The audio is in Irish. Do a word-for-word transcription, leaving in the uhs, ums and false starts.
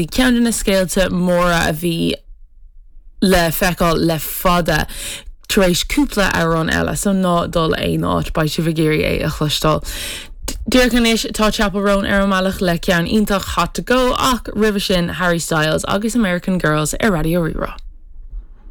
Ceann de na scéalta móra a bhí le feiceáil le fada tar éis cúpla amhrán eile, so ná dul aon áit beidh sibh ag iarraidh é a chloisteáil. Díreach anois tá Chappell Roan ar an mbealach le ceann iontach Hot to Go ach roimhe sin Harry Styles agus American Girls ar Raidió Rí-Rá.